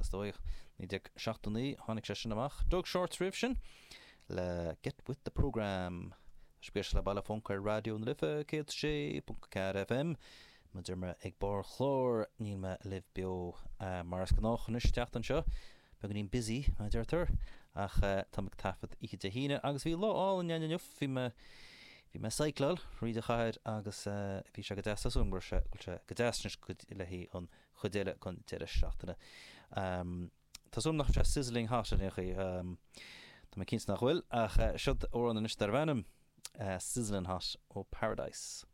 is dóigh, 1979 tháinig sé sin amach. Doug Shorts roimh sin le Get With The Programme. Tá sibh ag éisteacht le Baile Func ar Raidió na Life 106.4 FM. Mar a deir mé ag barr an chláir, níl mé libh beo mar is gnách anois an tseachtain seo. Beagáinín busy, mar a deirtear, ach táim ag taifead oíche Dé hAoine agus bhí lá álainn ann inniu. Bhí mé, bhí mé ag cycláil thríd an chathair agus bhí sé go deas. Tá súil agam go raibh sé, go bhfuil sé go deas anois le haghaidh an chuid eile den deireadh seachtaine. Tá súil agam nach raibh sé sizzling hot in aon chaoi. Tá mé cinnte nach bhfuil, ach seod amhrán anois darbh ainm Sizzling Hot ó Paradise.